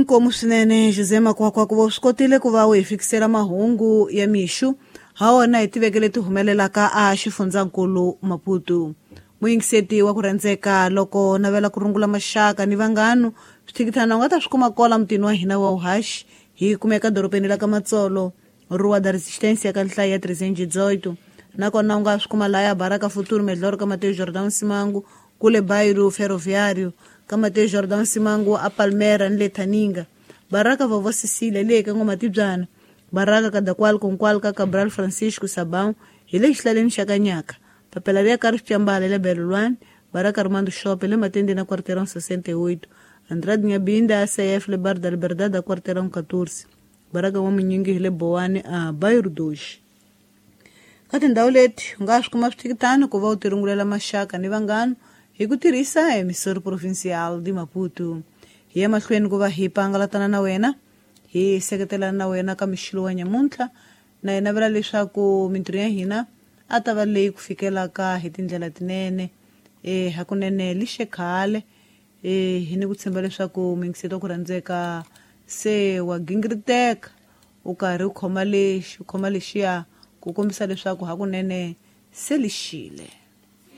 Inkomu swinene José Makwakwa ku va u swi kotile ku va u hi fikisela mahungu ya mixu ha wona hi tiveke leti humelelaka a xifundzankulu Maputo. Muyingiseti wa ku rhandzeka loko navela ku rungula maxaka ni vanghanu swithikithana u nga ta swi kuma kola mutini wa hina wa uhaxi hi kumeka dorobeni la ka Matsolo Rua da Resistência ka nhlayo ya 318 nakona u nga swi kuma laya Baraka Futuro Melhor ka Mateo Jordão Simango kule Bairro Ferroviário ka Mateo Jordão Simango a Palmera ni le Thaninga Baraka Vovó Cecília le ka N'wamatibyana Baraka Kadakwal Konkwal ka Cabral Francisco Sabão hi le xihlaleni xa Kanyaka papela ria Carlos Chambala le Belolwane Baraka Armando Shop le Matende na Quarteirão 68 Andrade Nhabinda ACF le Bar da Liberdade a Quarteirão 14 Baraka wa Munyingi hi le Bowani a Bairro 2 ka tindhawu leti u nga swi kuma swithikithani ku va u tirungulela maxaka ni vanghana hi ku tirhisa emissora provincial de Maputo hi ya mahlweni ku va hi pangalatana na wena hi seketelana na wena ka mixilo wa nyamuntlha na hi navela leswaku mintirho ya hina a ta va leyi ku fikelaka hi tindlela tinene e hakunene lixe khale e hi ni ku tshemba leswaku muyingiseti wa ku rhandzeka se wa gingiriteka u karhi u khoma lexi u khoma lexiya ku kombisa leswaku hakunene se lixile.